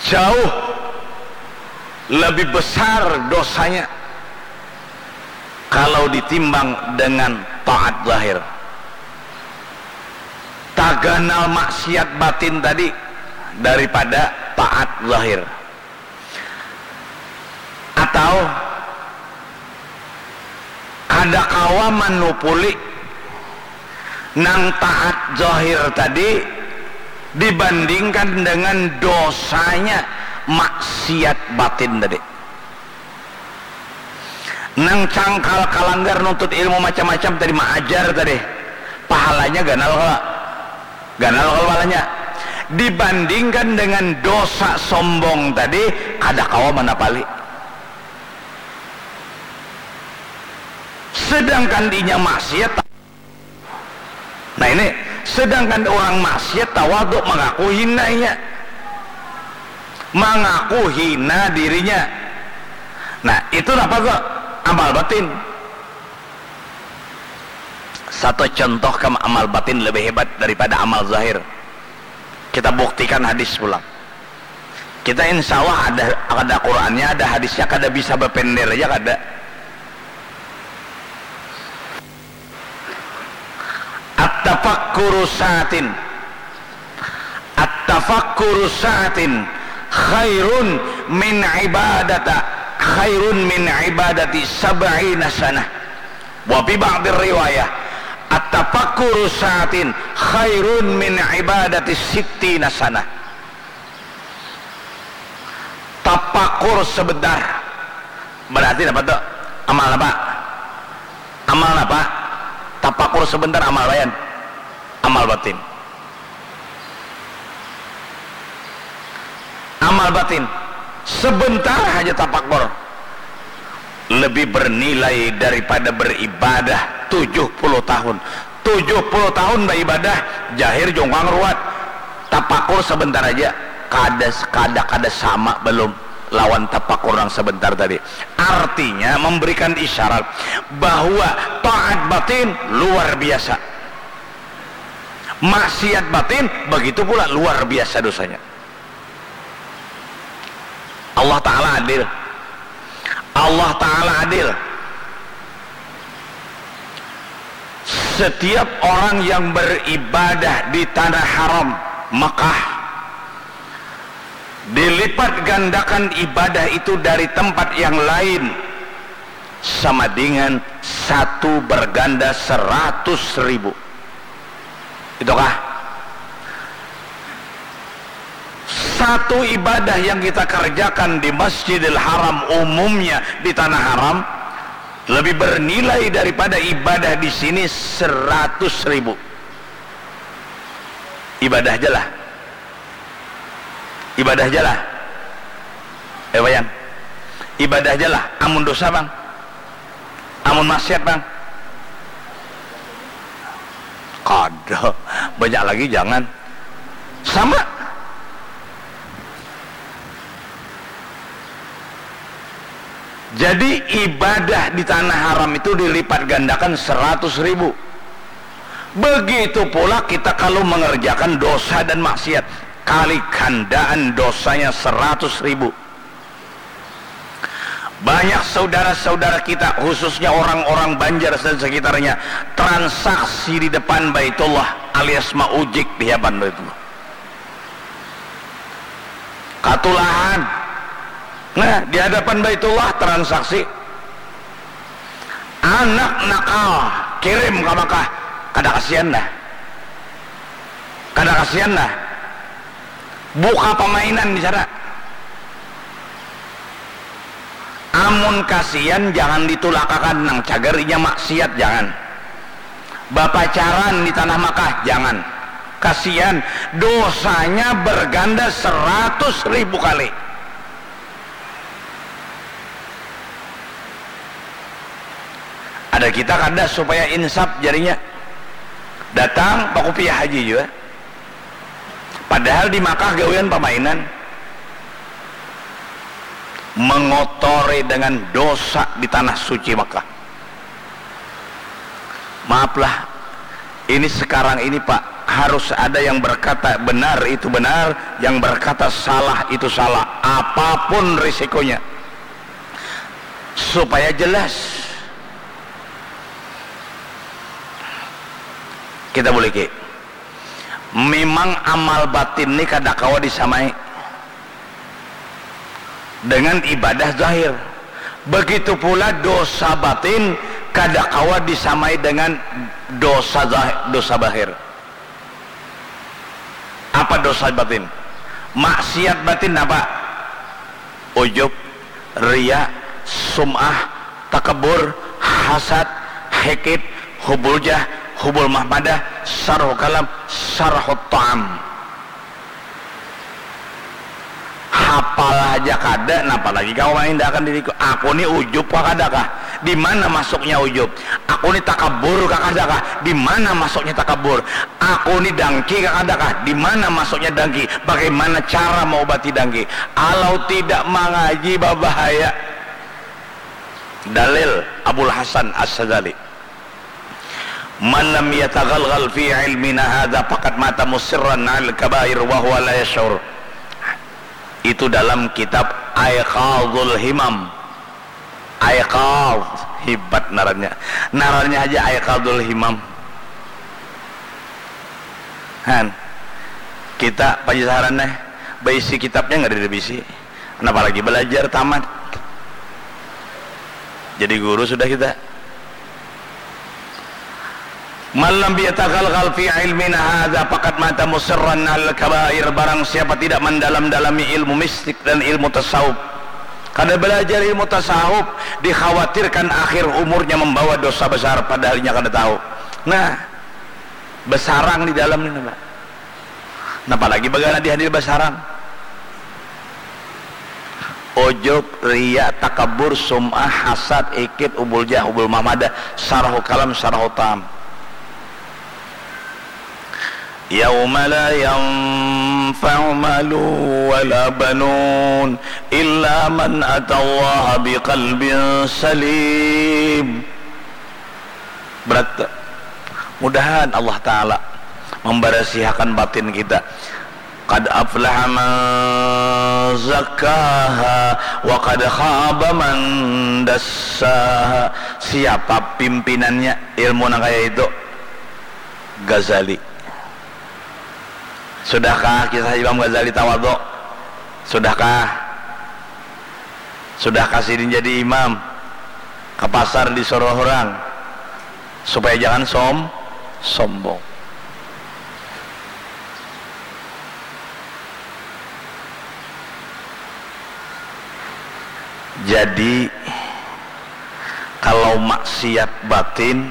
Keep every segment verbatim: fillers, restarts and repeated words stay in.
Jauh lebih besar dosanya kalau ditimbang dengan taat zahir. Taganal maksiat batin tadi daripada taat zahir. Atau kada kawa manupuli nang taat zahir tadi dibandingkan dengan dosanya maksiat batin tadi. Nang cangkal kalanggar nuntut ilmu macam-macam tadi, maajar tadi, pahalanya ganal kalo? Ganal kalo pahalanya? Dibandingkan dengan dosa sombong tadi, kada kawa manapali. Sedangkan inya maksiat. Nah ini, sedangkan orang maksiat tawaduk, mangaku hina inya, mangaku hina dirinya. Nah itu napa tu? Amal batin. Satu contoh kam amal batin lebih hebat daripada amal zahir. Kita buktikan hadis pulang. Kita insya Allah ada, ada Qurannya, ada hadisnya, kada bisa bapender aja kada. At-tafakkuru sa'atin. At-tafakkuru sa'atin khairun min ibadata khairun min ibadati sab'ina sanah. Wa fi ba'dir riwayah, at-tafakkuru sa'atin khairun min ibadati sittina sanah. Tapakur sebentar. Berarti apa tu? Amal apa? Amal apa? Tapakur sebentar amal lain. Amal batin. Amal batin. Sebentar saja tapakur. Lebih bernilai daripada beribadah tujuh puluh tahun. Tujuh puluh tahun beribadah, jahir jungkang ruat. Tapakur sebentar aja, kada, kada, kada sama belum lawan tapakur nang sebentar tadi. Artinya memberikan isyarat bahwa taat batin luar biasa. Maksiat batin begitu pula luar biasa dosanya. Allah Ta'ala adil. Allah Ta'ala adil. Setiap orang yang beribadah di tanah haram Mekah, dilipat gandakan ibadah itu dari tempat yang lain sama dengan satu berganda seratus ribu. Itukah? Satu ibadah yang kita kerjakan di Masjidil Haram, umumnya di Tanah Haram, lebih bernilai daripada ibadah di sini seratus ribu. Ibadah aja lah. Ibadah aja lah. Eh, Wayan. Ibadah aja lah. Amun dosa, Bang. Amun maksiat, Bang. Kada. Banyak lagi, jangan. Sama. Jadi, ibadah di tanah haram itu dilipat gandakan seratus ribu. Begitu pula kita kalau mengerjakan dosa dan maksiat, kali gandaan dosanya seratus ribu. Banyak saudara-saudara kita, khususnya orang-orang Banjar dan sekitarnya, transaksi di depan Baitullah alias maujik di hadapan Baitullah. Katulahan. Nah, di hadapan Baitullah transaksi. Anak nakal kirim ka Makkah. Kada kasihan dah. Kada kasihan dah. Buka pamainan di sana. Amun kasian, jangan ditulakakan, nang cagar inya maksiat, jangan. Bapacaran di tanah Makkah, jangan. Kasian, dosanya berganda seratus ribu kali. Ada kita kada supaya insaf jarinya. Datang bakupiah haji jua. Padahal di Makkah gawian pamainan. Mengotori dengan dosa di tanah suci Makkah. Maaflah, ini sekarang ini, Pak, harus ada yang berkata benar itu benar, yang berkata salah itu salah, apapun risikonya, supaya jelas. Kita buliki. Memang amal batin ni kada kawa disamai dengan ibadah zahir. Begitu pula dosa batin kada kawa disamai dengan dosa zahir, dosa bahir. Apa dosa batin? Maksiat batin apa? Ujub, ria, sum'ah, takabur, hasad, hikid, hubul jah, hubul mahmadah, sarhu kalam, sarhu ta'am. Hapal haja kada, napa lagi kawa maindahakan diriku? Aku ni ujub kah kada kah? Di mana masuknya ujub? Aku ni takabur kah kada kah? Di mana masuknya takabur? Aku ni dangki kah kada kah? Di mana masuknya dangki? Bagaimana cara maubati dangki? Alau tidak mangaji babahaya. Dalil Abul Hasan As-Sadzali. Man lam yatagalgal fi ilmina hadza faqad mata musirran al kabair wa huwa la yashur. Itu dalam kitab Aiqadul Himam. Aiqad, hebat narannya. Narannya aja Aiqadul Himam. Han, kita pajasaran nih, baisi kitabnya nggak ada bisi. Kenapa lagi belajar tamat? Jadi guru sudah kita. Man lam yatagalgal fi ilmina hadza faqad mata musirran al kabair. Barang siapa tidak mendalam-dalami ilmu mistik dan ilmu tasawuf, kada belajar ilmu tasawuf, dikhawatirkan akhir umurnya membawa dosa besar, padahal inya kada tahu. Nah, besarang di dalam ini, Pak. Napa lagi bagana di hadir basarang? Ujub, ria, takabur, sum'ah, hasad, ikit, ubul jah, ubul mahmadah, sarhu kalam, sarhu tam. Yauma la yanfa'u malu wala banun illa man atallaha biqalbin salim. Berat. Mudahan Allah Ta'ala memberesihakan batin kita. Qad aflaha man zakkaha wa qad khaba man dassaha. Siapa pimpinannya ilmu nang kaya itu? Ghazali. Sudahkah kisah Imam Ghazali tawaduk? Sudahkah? Sudahkah sidin jadi imam? Ka pasar disuruh orang supaya jangan som sombong. Jadi kalau maksiat batin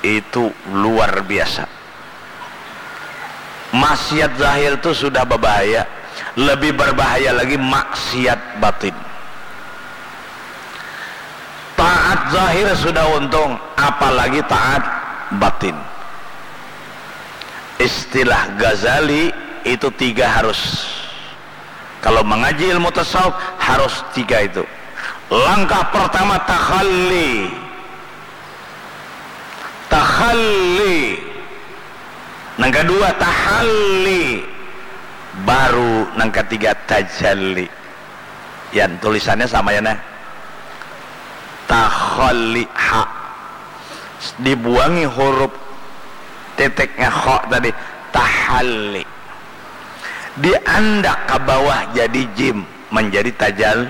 itu luar biasa. Maksiat zahir tu sudah babahaya, lebih berbahaya lagi maksiat batin. Taat zahir sudah untung, apalagi taat batin. Istilah Ghazali itu tiga harus. Kalau mengaji ilmu tasawuf harus tiga itu. Langkah pertama takhalli. Takhalli. Nang kedua tahalli. Baru nang ketiga tajalli. Yan, tulisannya sama ya nah. Takhalli ha. Dibuangi huruf titiknya kho tadi. Tahalli. Diandak ke bawah jadi jim, menjadi tajal.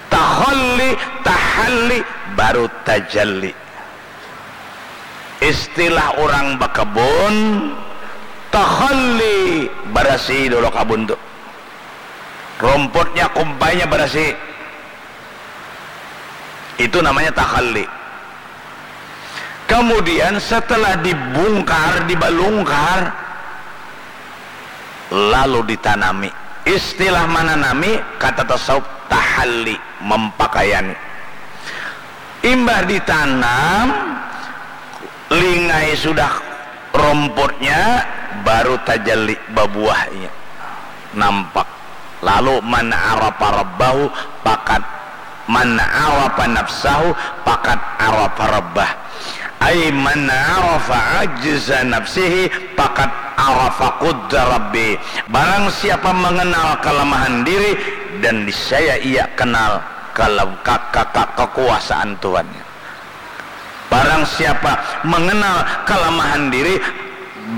Takhalli, tahalli, baru tajalli. Istilah orang bakebun, takhalli, barasi dulu kabun tu. Rumputnya, kumpainya barasi. Itu namanya takhalli. Kemudian setelah dibungkar, dibalungkar, lalu ditanami. Istilah mananami, kata tasawuf tahalli, mempakaiani. Imbah ditanam, lingai sudah rumputnya, baru tajalli babuahnya. Nampak. Lalu man arafa rabbahu faqad, man arafa nafsahu faqad arafa rabbah. Ay man arafa ajza nafsihi faqad arafa qudra rabbi. Barang siapa mengenal kelemahan diri, dan niscaya ia kenal kele-, ka-, ka-, ka-, kekuasaan Tuhannya. Barang siapa mengenal kelemahan diri,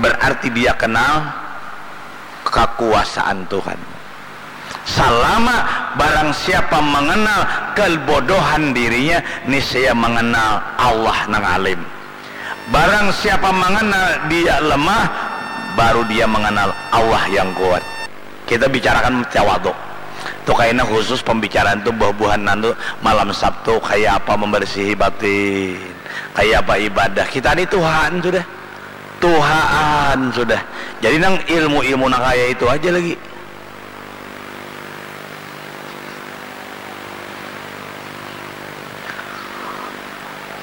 berarti dia kenal kekuasaan Tuhan. Salama barang siapa mengenal kebodohan dirinya, niscaya mengenal Allah nang alim. Barang siapa mengenal dia lemah, baru dia mengenal Allah yang kuat. Kita bicarakan tawadu. Tu kaina khusus pembicaraan tu buah-buahan nantu malam Sabtu, kaya apa membersihi batin, kaya apa ibadah. Kita ni tuhaan sudah. Tuhaan sudah. Jadi nang ilmu-ilmu nang kaya itu aja lagi.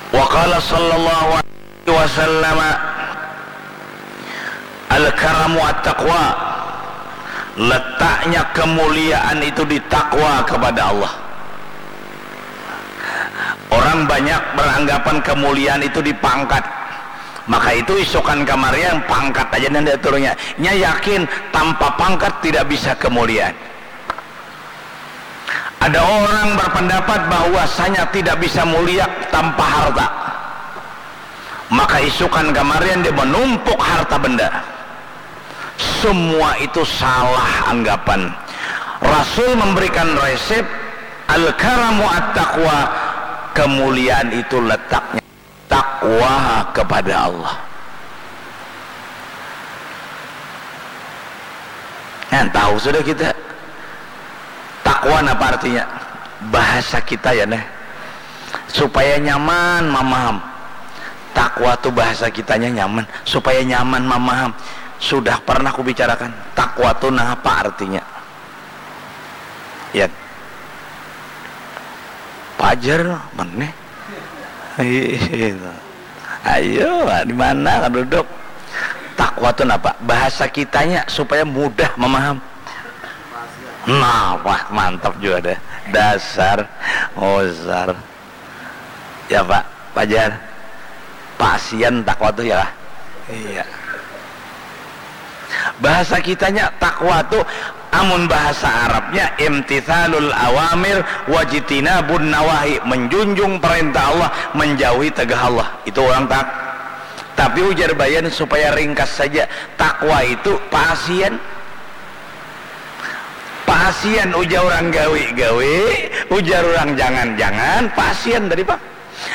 Wa qala sallallahu alaihi wasallam, al-karamu at-taqwa. Letaknya kemuliaan itu di takwa kepada Allah. Orang banyak beranggapan kemuliaan itu di pangkat. Maka itu isukan kamarian pangkat aja nang diaturnya. Nya yakin tanpa pangkat tidak bisa kemuliaan. Ada orang berpendapat bahwasanya tidak bisa mulia tanpa harta. Maka isukan kamarian dia menumpuk harta benda. Semua itu salah anggapan. Rasul memberikan resep, al-karamu at-taqwa, kemuliaan itu letaknya takwa kepada Allah. Nah, tahu sudah kita. Takwa napa artinya? Bahasa kita ya, neh. Supaya nyaman mamaham. Takwa tu bahasa kitanya nyaman. Supaya nyaman mamaham. Sudah pernah kubicarakan. Takwa tu napa artinya? Ya. Pajar, maneh. Iya. Ayo, di mana kan duduk? Takwa tu napa? Bahasa kitanya supaya mudah mamaham. Nah, wah, mantap juga deh. Dasar, ngusar. Ya, Pak, pajar. Pasian takwa tu ya lah. Iya. Bahasa kitanya takwa tu, amun bahasa Arabnya imtithalul awamir wajtinabun nawahi, menjunjung perintah Allah, menjauhi tegah Allah. Itu orang tak. Tapi ujar Bayan supaya ringkas saja, takwa itu pasian. Pasian ujar orang gawi-gawi, ujar orang jangan-jangan, pasian tadi, Pak.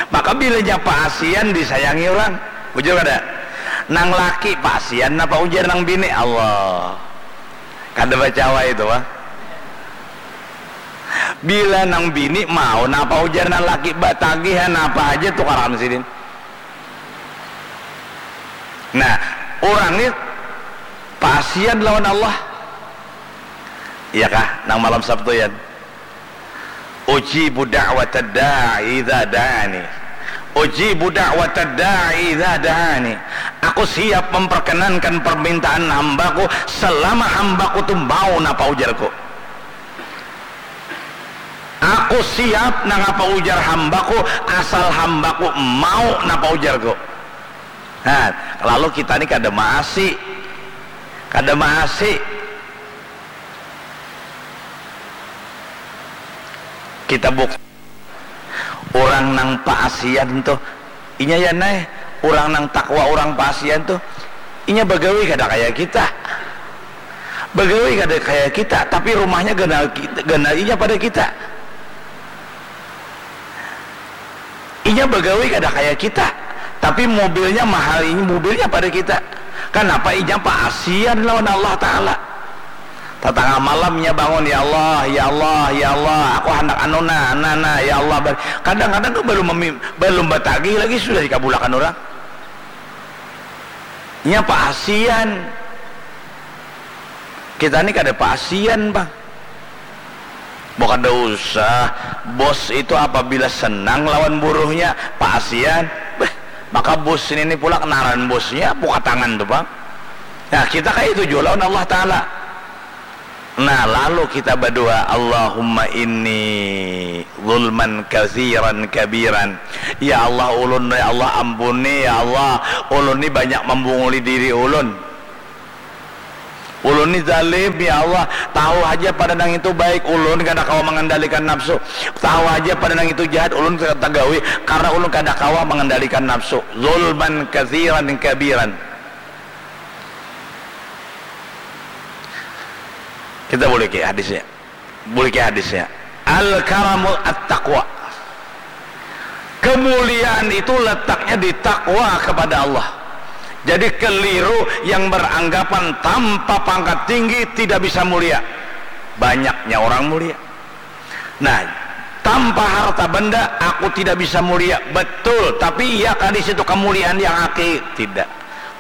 Maka bilanya pasian disayangi orang. Bujur kada? Nang laki pasian napa ujar nang bini? Allah. Kada bacawa itu, Pak. Bila nang bini mau napa ujar nang laki, batagihan apa aja tukaran sidin. Nah, orang ni pasian lawan Allah. Iya kah? Nang malam Sabtu, yan. Ujibu da'watad da'i idza da'ani. Ujibu da'watad da'i idza da'ani. Aku siap memperkenankan permintaan hambaku selama hambaku tu mau napa ujarku. Aku siap nang apa ujar hambaku asal hambaku mau napa ujarku. Nah, lalu kita ni kada maasi. Kada maasi. Kita buk-, orang nang paasian tuh, inya ya, neh, orang nang takwa, orang paasian tuh, inya bagawi kada kaya kita. Bagawi kada kaya kita, tapi rumahnya ganal kita, ganal inya pada kita. Inya bagawi kada kaya kita, tapi mobilnya mahal, inya mobilnya pada kita. Kanapa? Inya paasian lawan Allah Ta'ala. Tatangah malam inya bangun, "Ya Allah, ya Allah, ya Allah, aku handak anu nah, nah, nah, ya Allah." Bar-, kadang-kadang tuh balum memi-, balum batagih lagi sudah dikabulakan urang. Inya paasian. Kita ni kada paasian, Bang. Bah, kada usah. Bos itu apabila senang lawan buruhnya, paasian. Beh, maka bos ini ni pula kenaran bosnya, buka tangan tu, Bang. Nah, kita kaya itu jua lawan Allah Ta'ala. Nah, lalu kita berdoa, Allahumma inni zulman katsiran kabiran. Ya Allah, ulun, ya Allah, ampuni, ya Allah, ulun ni banyak membunguli diri ulun. Ulun ni zalim, ya Allah, tahu aja pada nang itu baik, ulun kada kawa mengendalikan nafsu. Tahu aja pada nang itu jahat, ulun tagawi karena ulun kada kawa mengendalikan nafsu. Zulman katsiran kabiran. Kita boleh ke hadisnya. Boleh ke hadisnya. Al-karamu at-taqwa. Kemuliaan itu letaknya di takwa kepada Allah. Jadi keliru yang beranggapan tanpa pangkat tinggi tidak bisa mulia. Banyaknya orang mulia. Nah, tanpa harta benda aku tidak bisa mulia. Betul, tapi iya kah di situ kemuliaan yang hakiki? Tidak.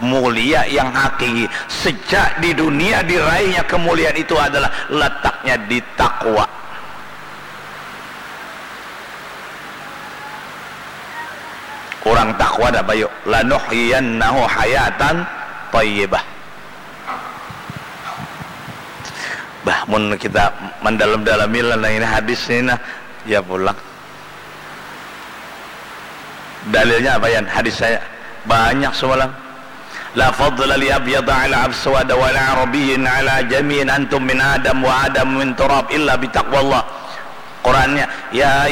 Mulia yang hakiki sejak di dunia diraihnya kemuliaan itu adalah letaknya di takwa. Orang takwa dah bayu, lanuhyiyannahu hayatan thayyibah. Bah, mun kita mendalam-dalami lah ini hadis ini nah, ya pulang. Dalilnya apa, Yan? Hadis saya banyak semalam. La fadla li abyada ala aswada wa la arabiyyin ala jami'in, antum min Adam wa Adam min turab illa bitaqwallah. Qurannya, ya